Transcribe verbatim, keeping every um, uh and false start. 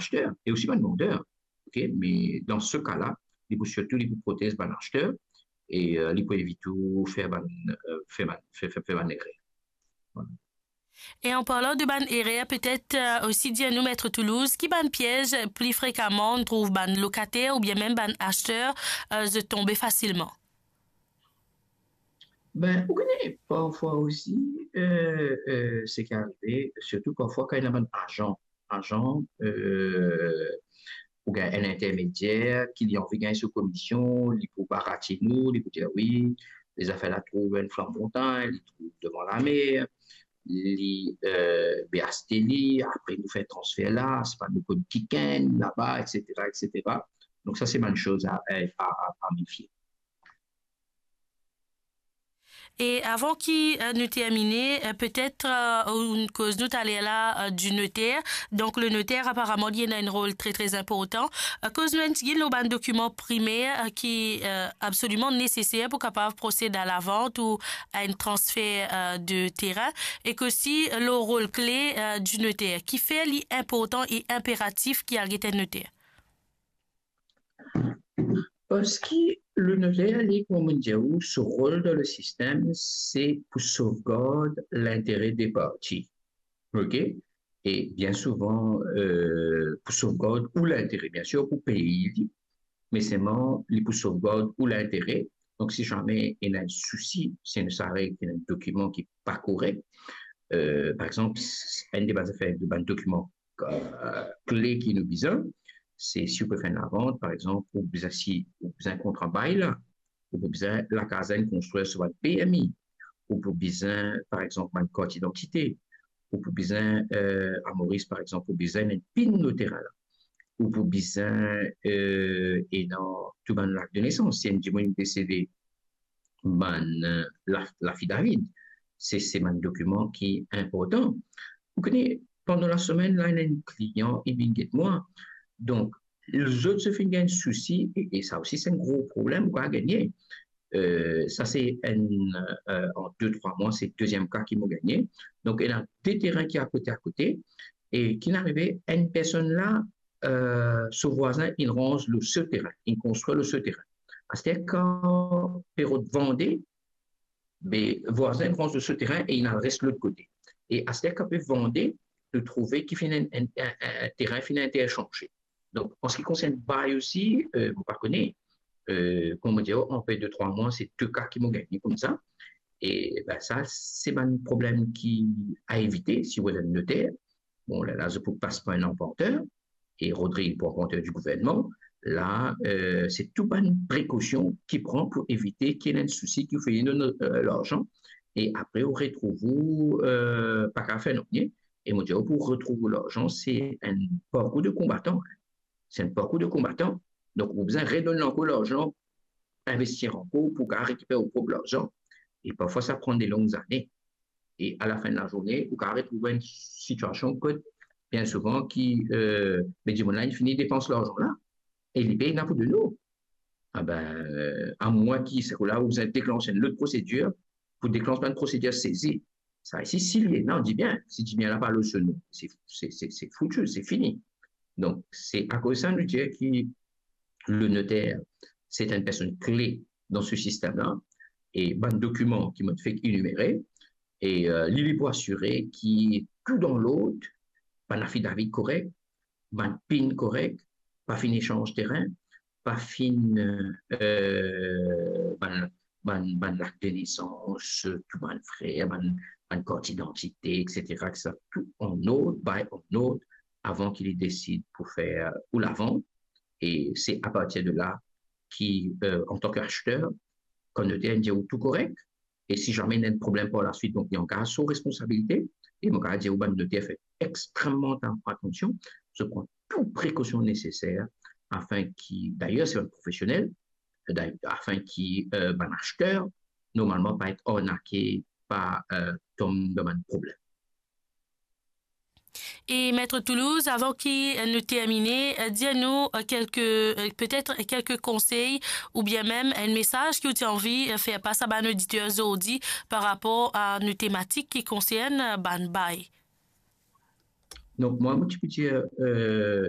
achter e osi bann vander. Ok, me dan se ka la, li pou sirtou, li pou protez bann achter e, euh, li pou evit ou fer bann, euh, fer bann, fer, fer, fer bann erer. Voilà. E an parlan de bann erer, petet, euh, osi dir nou, Met Toulouse, ki bann piez pli frekaman nou trouv bann lokater oubien mem bann achter, euh, zot tonbe fasilman? Ben, ou kone, parfwa osi, euh, euh, seki arive, sirtou parfwa kan ena bann azan, azan, euh, oubien enn intermedier ki li anvi gagn so komision, li pou baratinn ou, li pou dir, wi, lezafer la trouv enn flanb montagn, li trouv devan lamer, li, euh, be aste li, apre nou fer transfer la, se pa nou konn kikenn laba, et cetera, et cetera. Donk sa se bann soz a, a, a, a mefie. E avan ki, euh, nou termine, euh, petet, euh, ou koz nou taler la, euh, di noter. Donk, le noter, aparaman, li ena enn rol tre, tre inportan. Euh, koz nou enn tigit lor bann dokiman primer, euh, ki, euh, absoliman neseser pou kapav prosed a lavant ou a enn transfer, euh, de terin. E osi, euh, lor rol kle, euh, di noter. Kifer li inportan e inperatif ki al get enn noter? Parski le noter, li, kouma mo dir ou, so rol dan le sistem, se pou sovgard lintere de parti. Ok? E bien souvan, euh, pou sovgard ou lintere, biensir, pou pey li, me selman li pou sovgard ou lintere. Donk, si zame ena enn sousi, si ena enn dokiman ki pa korek, euh, par exanp, s-, enn de bann zafer, de bann dokiman, euh, kle ki nou bizin, se si ou pe fer enn lavant, par exanp, ou bizin, si ou bizin kontran bay la, ou pou bizin lakaz la inn konstrir sou bann permi, ou pou bizin, par exanp, bann kart idantite, ou pou bizin, euh, a Moris, par exanp, ou bizin enn pin lor terin la, ou pou bizin, euh, ena tou bann lakt de nesans. Si enn dimoun desede, bann, euh, la-, lafidavid, se, se bann dokiman ki inportan. Ou kone, pandan lasemenn la, ena enn klian, li vinn get mwa. Donk, zot so finn gagn sousi, e, e sa osi se enn gro problem ou kapav gagne. Euh, sa se enn, euh, an de, trwa mwa, se deziem ka ki mo gagne. Donk, ena de terin ki akote, akote, e ki arive, enn personn la, euh, so vwazin, inn ranz lor so terin, inn konstrir lor so terin. Aster kan pe rod vande, be vwazin ranz lor so terin e inn al res lot kote. E aster kan pe vande, nou trouve ki finn enn, enn, enn, enn terin finn intersanze. Donk, an se ki konsern bay osi, euh, mo pa kone, euh, kouma mo dir, an pe de, trwa mwa, se de ka ki mo gagne koumsa. E, ben, sa, se bann problem ki a evite, si ou ena enn noter. Bon, la, la, zot pou pas par enn lanvanter, e Rodrig pou lanvanter di gouvernman. La, euh, se tou bann prekosion ki pran pou evite ki ena enn sousi ki ou fini donn, euh, larzan, e apre ou retrouv ou, euh, pa kapav fer nanye. E mo dir ou, pou retrouv ou larzan, se enn parkour de konbatan. Se enn parkour de konbatan. Donk, ou bizin redonn ankor larzan, investir ankor pou kapav rekiper ou prop larzan. E parfwa, sa pran de long zane. E a la fin de lazourne, ou kapav retrouv enn sitiasion kot, bien souvan, ki, euh, be dimoun la, li fini depans larzan la, e li pey ena pou donn ou. Ah ben, euh, amwin ki, se la ou bizin deklans enn lot prosedir, pou deklans bann prosedir sezi. Sa isi, si li ena, nou dir bien, si dimoun la pa lor so nom, se, se, se, se fouti, se fini. Donk, se akoz sa nou dir ki le noter, se enn personn kle dan se sistem la, e bann dokiman ki mo fek enimere, e, euh, li, li pou asire ki tou dan lord, bann afidavid korek, bann pin korek, pa finn esanz terin, pa finn, euh, bann, bann, bann lakt de nesans, tou bann frer, bann, bann kart idantite, et cetera, et cetera, tou an ord, bay an ord, avan ki li desid pou fer ou lavant. E se apartir de la ki, euh, antan ki achter, kan noter inn dir ou tou korek, e si zame ena enn problem par laswit, donk, li angaz so responsabilite. E mo kapav dir ou, bann noter fer extrememan atansion, zot pran tou prekosion neseser, afin ki, dayer, se bann profesionel, day-, afin ki, euh, bann achter, normalman, pa et arnake, pa, euh, tom dan bann problem. E Met Toulouse, avan ki, euh, nou termine, euh, dir nou, euh, kelke, euh, petet kelke konsey oubien mem enn mesaz ki ou ti anvi, euh, fer pas a bann oditer zordi par rapor a nou tematik ki konsern, euh, bann bay. Donk, mwa, mo ti pou dir, euh,